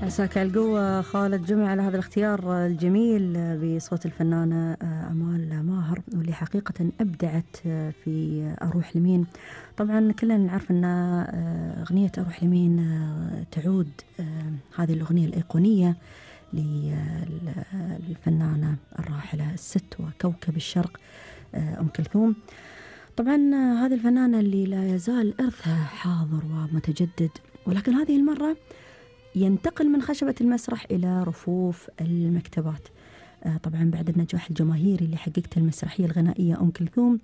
مساك القوة خالد جمع على هذا الاختيار الجميل بصوت الفنانة أمال ماهر، واللي حقيقة أبدعت في أروح لمين. طبعا كلنا نعرف أن أغنية أروح لمين تعود هذه الأغنية الأيقونية للفنانة الراحلة الست وكوكب الشرق أم كلثوم. طبعا هذه الفنانة اللي لا يزال إرثها حاضر ومتجدد، ولكن هذه المرة ينتقل من خشبة المسرح إلى رفوف المكتبات. طبعا بعد النجاح الجماهيري اللي حققته المسرحية الغنائية أم كلثوم،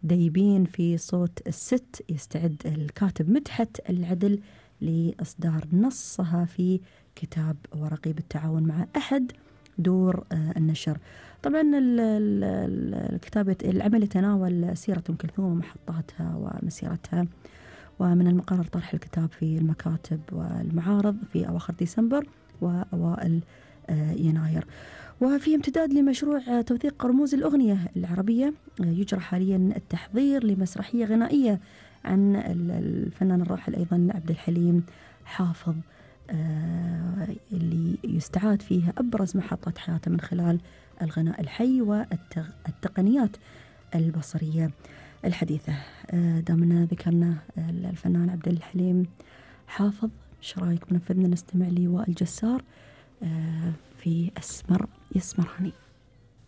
ديبين في صوت الست يستعد الكاتب مدحت العدل لإصدار نصها في كتاب ورقي بالتعاون مع أحد دور النشر. طبعا الكتاب العمل يتناول سيرة أم كلثوم ومحطاتها ومسيرتها، ومن المقرر طرح الكتاب في المكاتب والمعارض في أواخر ديسمبر وأوائل يناير. وفي امتداد لمشروع توثيق رموز الأغنية العربية، يجرى حاليا التحضير لمسرحية غنائية عن الفنان الراحل أيضا عبد الحليم حافظ، اللي يستعاد فيها أبرز محطات حياته من خلال الغناء الحي والتقنيات البصرية الحديثة. دامنا ذكرنا الفنان عبد الحليم حافظ، ايش رايك بنفذنا نستمع لوائل جسار في أسمر يسمرني؟